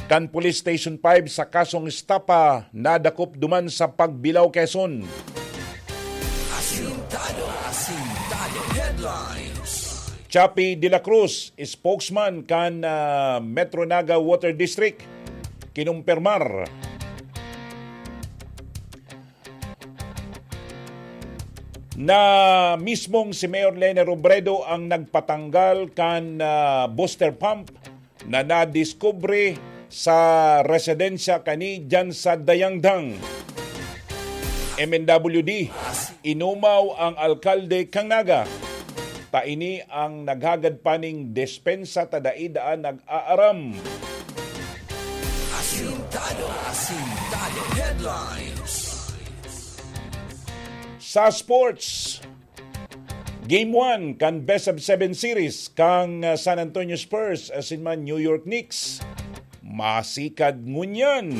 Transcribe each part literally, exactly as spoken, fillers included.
kan Police Station five sa kasong estafa nadakop duman sa Pagbilao, Quezon. Asintado, asintado. Headlines. Chappie de la Cruz, spokesman kan, ah, Metro Naga Water District, kinumpirmar na mismong si Mayor Leni Robredo ang nagpatanggal kan, ah, booster pump na nadiskubre sa residensya kani diyan sa Dayangdang. M N W D, inumaw ang alkalde kan Naga. Ta ini ang naghagad pa ning despensa ta dai daa nag-aaram. Asintado, asintado. Headlines. Sa sports, Game one kan Best of Seven Series kan, ah, San Antonio Spurs asin man New York Knicks. Masikad ngunyan.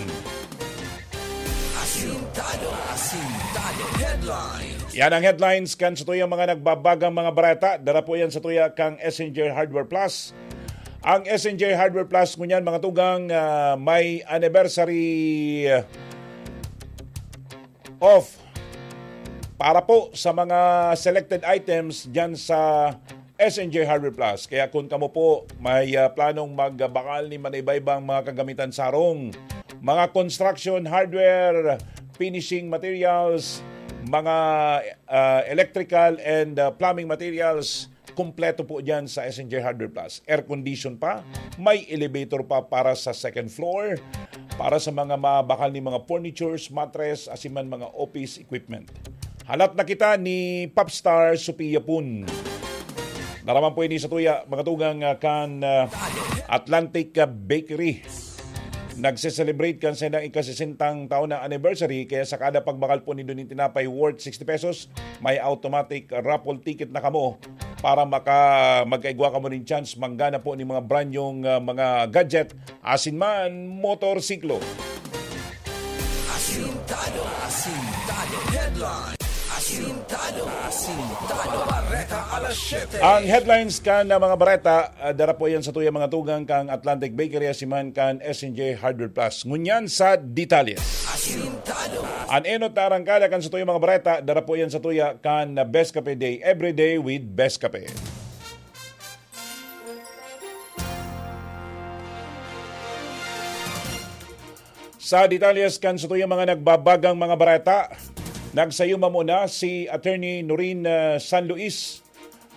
Asintado, asintado. Headlines. Yan ang headlines kan satuyang mga nagbabagang mga bareta. Dara po yan satuya kang S N J Hardware Plus. Ang S N J Hardware Plus ngunyan, mga tugang, ah, may anniversary, ah, off para po sa mga selected items dyan sa S N J Hardware Plus. Kaya kung kamo po may, ah, planong magbakal ni manaybaybang mga kagamitan sa harong, mga construction hardware, finishing materials, mga, ah, electrical and, ah, plumbing materials, kompleto po dyan sa S N J Hardware Plus. Air condition pa, may elevator pa para sa second floor, para sa mga mabakal ni mga furnitures, mattress, asin man mga office equipment. Halat na kita ni Popstar Sophia Pun. Naraman po ini sa tuya, mga tugang, ah, kan, ah, Atlantic, ah, Bakery. Nagse-celebrate kan saindang ikasisentang taon na anniversary, kaya sa kada pagbakal po nindo nin tinapay worth sixty pesos, may automatic raffle ticket na kamo para maka-, magkaigwa kamo nin chance manggana po nin mga brand yung, ah, mga gadget, asin man motorsiklo. Asintado, asintado. Headline. Asintado, asintado. Bareta alas siyete. Ang headlines kan na mga bareta, ah, dara po yan sa tuya mga tugang kang Atlantic Bakery, asin man kan S N J Hardware Plus. Ngunyan sa detalye. Asintado. An enot na arangkada kan sa tuya mga bareta, dara po yan sa tuya kan Best Cafe Day. Every day with Best Cafe. Sa detalyes kan satuyang mga nagbabagang mga bareta, nagsayuma muna si Attorney Noreen, ah, San Luis,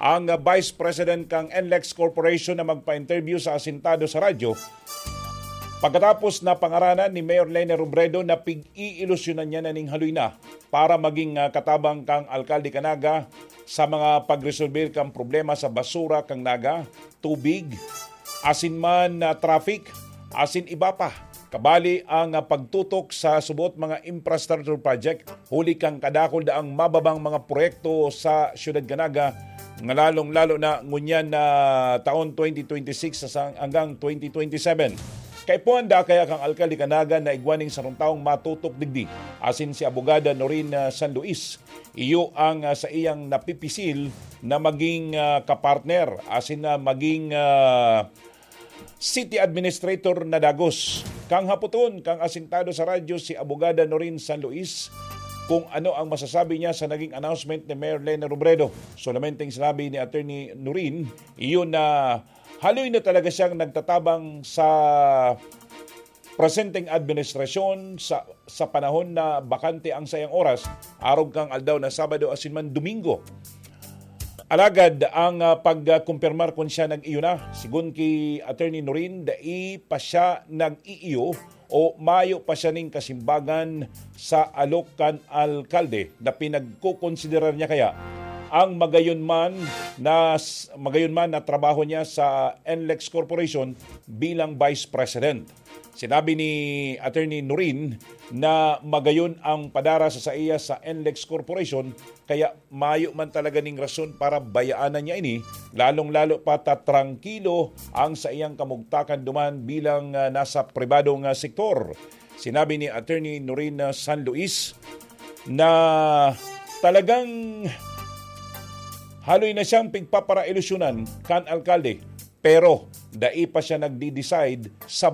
ang, ah, Vice President kan N L E X Corporation na magpa-interview sa Asintado sa radyo. Pagkatapos na pangaranan ni Mayor Leni Robredo na pig-iilusyonan niya na ning haloy na para maging, ah, katabang kang alkalde kan Naga sa mga pagresolbir kan problema sa basura kan Naga, tubig, asin man, ah, traffic, asin iba pa. Kabali ang, ah, pagtutok sa subot mga infrastructure project, huli kan kadakul daang mababang mga proyekto sa Siyudad kan Naga, nga lalong-lalo na ngunyan na taon twenty twenty-six sa sang-, hanggang twenty twenty-seven. Kaipuhan da kaya kang alkalde kan Naga na igwa ning sarong tawong matutok digdi, asin si Abogada Noreen, ah, San Luis. Iyo ang, ah, saiyang napipisil na maging, ah, kapartner, asin na maging, ah, city administrator na dagos. Kang hapoton, kang asintado sa radyo si Abogada Noreen San Luis, kung ano ang masasabi niya sa naging announcement ni Mayor Leni Robredo. Solamente ang sinabi ni Attorney Noreen, iyon na haloy na talaga siyang nagtatabang sa presenteng administrasyon sa, sa panahon na bakante ang saiyang oras, arog kang aldaw na Sabado asin man Domingo. Alagad ang, ah, pagkumpirmar kun siya nag-iyo na, sigon ki Attorney Noreen, dai pa siya nag-iiyo o mayo pa siya ning kasimbagan sa alok kan alkalde na pinagkokonsiderar niya kaya ang magayon man na s-, magayon man na trabaho niya sa N L E X Corporation bilang Vice President. Sinabi ni Attorney Noreen na magayon ang padara sa saiya sa N L E X Corporation, kaya mayo man talaga ning rason para bayaanan niya ini, lalong-lalo pa ta trangkilo ang saiyang kamugtakan duman bilang, ah, nasa pribadong, ah, sektor. Sinabi ni Attorney Noreen, ah, San Luis na talagang haloy na siyang pigpaparailusyonan kan alkalde, pero dai pa siya nagdi-decide sa